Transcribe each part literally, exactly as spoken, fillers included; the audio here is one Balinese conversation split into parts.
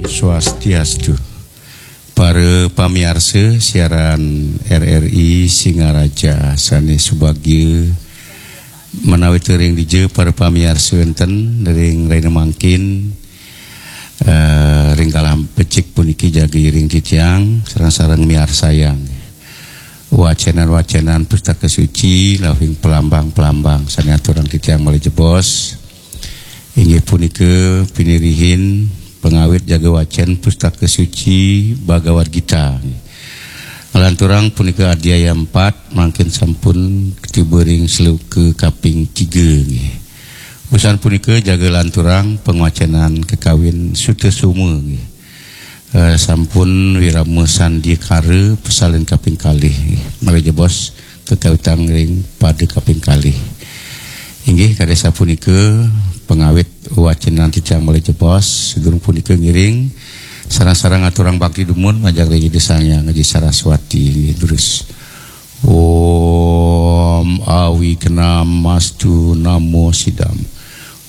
Swastiastu. Para pamiarsa siaran R R I Singaraja sané subagia, menawi teuing dija para pamiarsa wénten ring rahina mangkin, eh, ring galah becik puniki jaga iring titiang sareng-sareng miarsayang wacénan-wacénan Pustaka Suci, lawing pelambang-pelambang sané aturang titiang malih jebos. Inggih punika pinirihin pangawit jaga wacén Pustaka Suci Bhagavad Gita. Nglanturang punika adhyaya empat, mangkin sampun tiba ring sloka kaping tiga nggih. Usan punika jaga lanturang pangwacénan kakawin Sutasoma nggih. Eh, sampun wirama sandiakara pasalin kaping kalih nggih. Malih jebos kakawitang ring pada kaping kalih. Inggih, kadi sapunika pangawit wacénan titiang malih jebos, sadurung punika ngiring sareng-sareng aturang bakti dumun majeng ring Ida Sang Hyang Aji Saraswati nggih durus. Om Awignamastu Namo Sidam.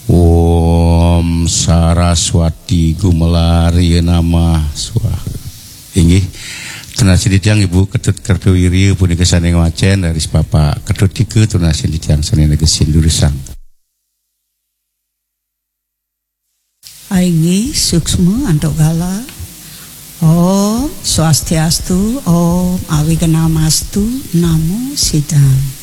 Om Saraswati Gumelarya Namah Swaha. Inggih. Tunasing titiang Ibu Ketut Kertawirya punika sané ngwacén, raris Bapak Ketut Tika tunasing titiang sané negesin durusang. Inggih, suksma antuk galah. Om Swastiastu, Om Awignamastu, Namo Sidam.